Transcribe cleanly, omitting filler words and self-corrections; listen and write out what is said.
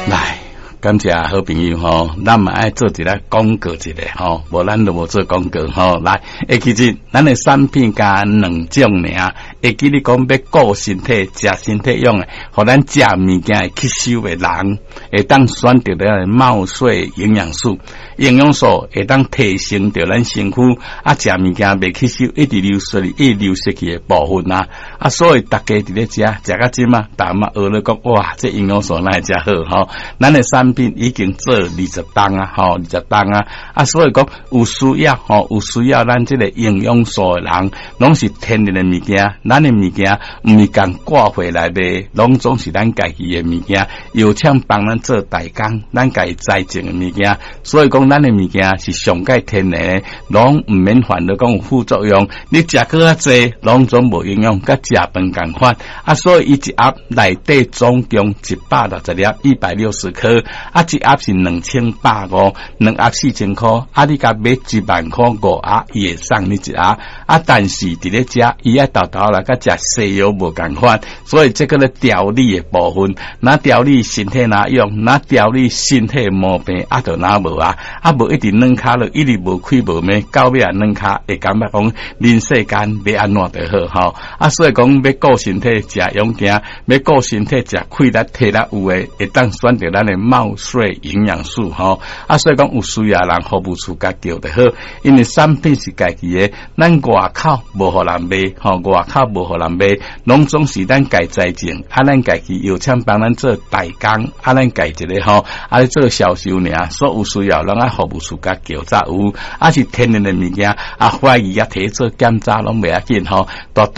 來，感謝好朋友吼，咱嘛愛做一个廣告一下吼，無咱就無做廣告吼。來，會記得咱的產品佮兩種爾，會記你講欲顧身體、食身體用的，予咱食物件會吸收的人，會當選擇咱的茂穗營養素，營養素會當提升著咱身軀，啊，食物件袂吸收，一直流失一直流失去的部分啊，啊，所以大家佇咧食，食到這馬，大家嘛學咧講，哇，這營養素哪會遮好吼？咱的產品已經做20冬啊，吼，20冬啊，啊，所以講有需要吼，有需要咱這个營養素的人，攏是天然的物件，咱的物件毋是共掛回來賣，攏總是咱家己的物件，藥廠幫咱做代工，咱家己栽種的物件，所以講咱的物件是上蓋天然的，攏毋免煩惱講有副作用。你食閣較濟，攏總無營養，佮食飯仝款。啊，所以伊一盒內底總共160粒，160顆，啊，一盒是2150，兩盒4000箍，啊，你共買1萬箍五盒，伊會送你一盒。啊，但是佇咧遮，伊愛沓沓來佮食西藥無仝款，所以這個咧調理的部分，若調理身體若用，若調理身體毛病，啊，就若無啊，啊，無一直軟跤落，一直無開無咩，到尾啊軟跤會感覺講人世間欲按怎就好吼。啊，所以講欲顧身體食養健，欲顧身體食氣力體力有的，會當選擇咱的茂穗營養素吼。啊，所以講有需要人服務處共叫就好，因為產品是家己的，咱外口無予人賣，吼，外口無予人賣，攏總是咱家栽種，啊，咱家己藥廠幫咱做代工，啊，咱家一个吼，啊，做銷售爾，所有需要攏愛服務處共叫才有，啊是天然的物件，啊，懷疑啊，提做檢查攏袂要緊吼，絕對。